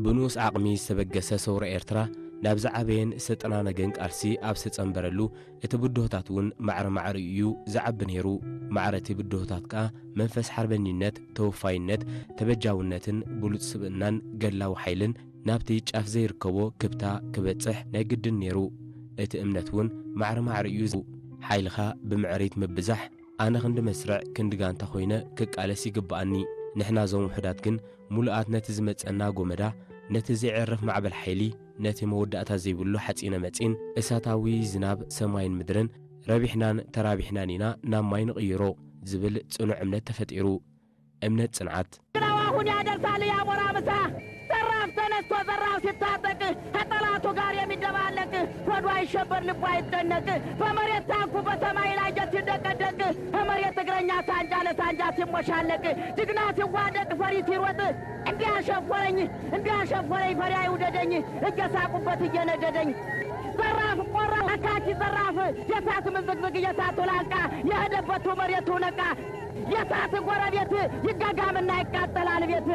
ብንኡስ ዓቕሚ ዝተበገሰ ሰውራ ኤርትራ ናብ ዝዓበየን ዝተጠናነገን ቃልሲ ኣብ ዝተጸንበረሉ፣ እቲ ብድሆታት እውን ማዕረ ማዕሪኡ እዩ ዝዓቢ ነይሩ። ማዕረ እቲ ብድሆታት ከኣ መንፈስ ሓርበኝነት፣ ተወፋይነት፣ ተበጃውነትን ብሉጽ ስብእናን ገድላዊ ሓይልን ናብቲ ጫፍ ዘይርከቦ ክብታ ክበጽሕ ናይ ግድን ነይሩ። እቲ እምነት እውን ማዕረ ማዕሪኡ እዩ። ሓይልኻ ብምዕሪት ምብዛሕ፣ ኣነ ክንዲ መስርዕ ክንዲ ጋንታ ኮይነ ክቃለስ ይግብኣኒ። ንሕና እዞም ውሑዳት ግን ምሉኣት ነቲ ዝመጸና ጎመዳ፣ ነቲ ዘይዕረፍ ማዕበል ሓይሊ፣ ነቲ መወዳእታ ዘይብሉ ሓጺነ መጺን እሳታዊ ዝናብ ሰማይን ምድርን ረቢሕናን ተራቢሕናን ኢና ናብ ማይ ንቕይሮ ዝብል ጽኑዕ እምነት ተፈጢሩ። እምነት ጽንዓት። ግራው አሁን ያደርሳል ያሞራ ምሳ። ዘራፍ ተነስቶ ዘራፍ ሲታጠቅ ከጠላቱ ጋር የሚደባለቅ ሆዱ አይሸበር ልቡ አይጨነቅ በመሬት ታንኩ በሰማይ ላይ ጀት ሲደቀደቅ በመሬት እግረኛ ሳንጃ ለሳንጃ ሲሞሻለቅ ጅግና ሲዋደቅ ፈሪ ሲሮጥ እንዲያሸፈረኝ እንዲያሸፈረኝ ፈሪ አይውደደኝ እየሳቁበት እየነደደኝ ዘራፍ ቆራው አካኪ ዘራፍ የሳት ምዝግዝግ የሳቱ ላንቃ የሄደበቱ መሬቱ ነቃ የሳት ጎረቤት ይጋጋምና ይቃጠላል ቤት።